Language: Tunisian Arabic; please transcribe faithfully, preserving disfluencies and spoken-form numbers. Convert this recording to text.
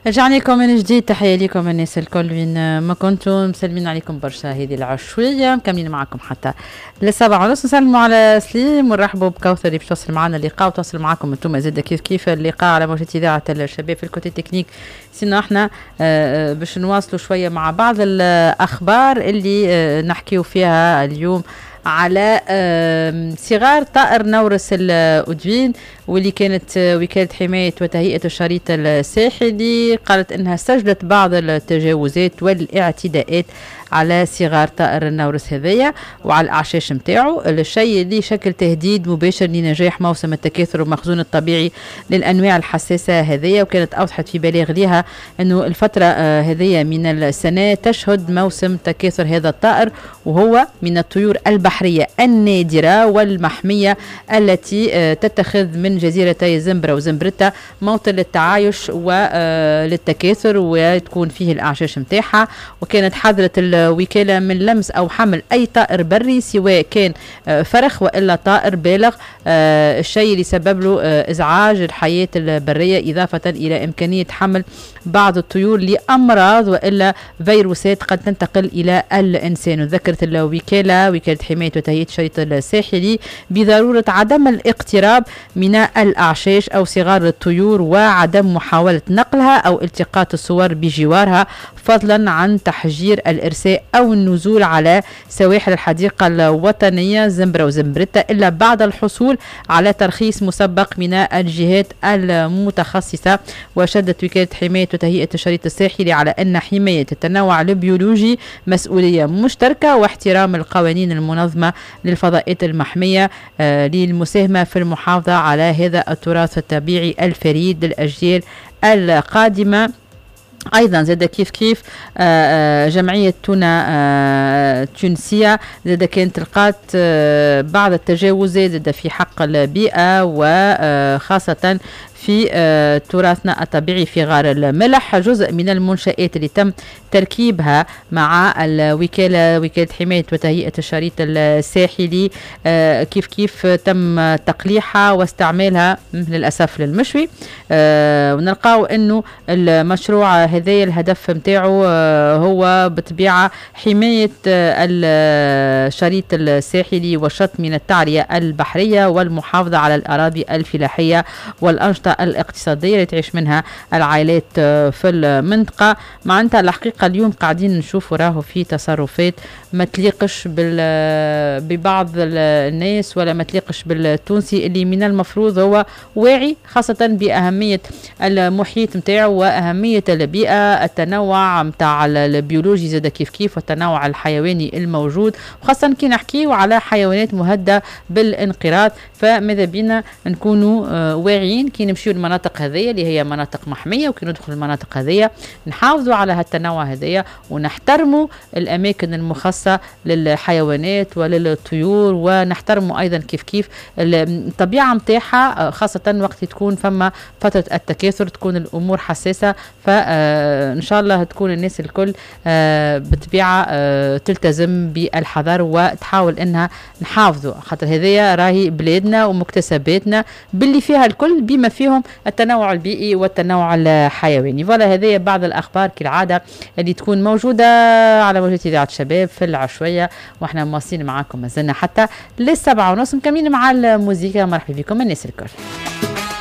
رجعنا لكم من جديد، تحية لكم الناس الكل وين ما كنتم، مسلمين عليكم برشا هذه العشوية، مكملين معكم حتى للسبعة ونص. نسلموا على سليم ونرحبوا بكوثر اللي باش توصل معنا اللقاء وتوصل معكم انتم زاد كيف كيف اللقاء على موجة إذاعة الشباب في ال côté technique. sinon احنا آه، باش نواصلوا شوية مع بعض الأخبار اللي آه، نحكيو فيها اليوم على صغار طائر نورس الأدوين، واللي كانت وكالة حماية وتهيئة الشريط الساحلي قالت أنها سجلت بعض التجاوزات والاعتداءات على صغار طائر النورس هذايا وعلى الأعشاش نتاعو، الشيء اللي شكل تهديد مباشر لنجاح موسم التكاثر والمخزون الطبيعي للأنواع الحساسة هذيا. وكانت أوضحت في بلاغ لها أنه الفترة آه، هذيا من السنة تشهد موسم تكاثر هذا الطائر، وهو من الطيور البحرية النادرة والمحمية التي آه، تتخذ من جزيرتي زمبرة وزمبرتا موطن للتعايش وللتكاثر وتكون فيه الأعشاش متاعها. وكانت حذرت الوكالة من لمس أو حمل أي طائر بري سواء كان آه، فرخ وإلا طائر بالغ، آه، الشيء اللي سبب له آه، إزعاج الحياة البرية، إضافة إلى إمكانية حمل بعض الطيور لأمراض وإلا فيروسات قد تنتقل إلى الإنسان. وذكرت الوكالة وكالة حماية وتهيئة الشريط الساحلي بضرورة عدم الاقتراب من الأعشاش أو صغار الطيور وعدم محاولة نقلها أو التقاط الصور بجوارها، فضلا عن تحجير الإرساء أو النزول على سواحل الحديقة الوطنية زمبرة وزمبرتا إلا بعد الحصول على ترخيص مسبق من الجهات المتخصصة. وشدت وكالة حماية وتهيئة الشريط الساحلي على أن حماية التنوع البيولوجي مسؤولية مشتركة واحترام القوانين المنظمة للفضاءات المحمية آه، للمساهمة في المحافظة على هذا التراث الطبيعي الفريد للأجيال القادمة. ايضا زاد كيف كيف آه، آه، جمعية تونا آه، تونسية زاد كانت لقات بعض التجاوزات زاد في حق البيئة وخاصة في تراثنا الطبيعي في غار الملح. جزء من المنشآت اللي تم تركيبها مع الوكالة وكالة حماية وتهيئة الشريط الساحلي كيف كيف تم تقليحها واستعمالها للأسف للمشوي. ونلقاو أنه المشروع هذا الهدف نتاعو هو بطبيعة حماية الشريط الساحلي والشط من التعرية البحرية والمحافظة على الأراضي الفلاحية والأنشطة الاقتصادية اللي تعيش منها العائلات في المنطقة. معناتها الحقيقة اليوم قاعدين نشوفوا راهو في تصرفات ما تليقش ببعض الناس ولا ما تليقش بالتونسي اللي من المفروض هو واعي خاصة بأهمية المحيط نتاعو وأهمية البيئة، التنوع نتاع البيولوجي زاد كيف كيف والتنوع الحيواني الموجود، وخاصة كي نحكيو على حيوانات مهددة بالانقراض. فماذا بينا نكونوا آه، واعيين كي نمشيو المناطق هذيا اللي هي مناطق محمية، وكي ندخل المناطق هذيا نحافظوا على هالتنوع هذيا ونحترموا الأماكن المخصصة للحيوانات وللطيور، ونحترموا أيضا كيف كيف الطبيعة متاعها، خاصة وقت تكون فما فترة التكاثر تكون الأمور حساسة. فإن شاء الله تكون الناس الكل آه، بطبيعة آه، تلتزم بالحذر وتحاول انها نحافظوا، خاطر هذيا راهي بلادنا ومكتسباتنا باللي فيها الكل بما فيهم التنوع البيئي والتنوع الحيواني. voilà هذه بعض الاخبار كالعادة اللي تكون موجودة على موجة اذاعة الشباب في العشويه، واحنا مواصلين معاكم مازلنا حتى للسبعة ونص مكملين مع الموزيكا. مرحبا بكم الناس الكل.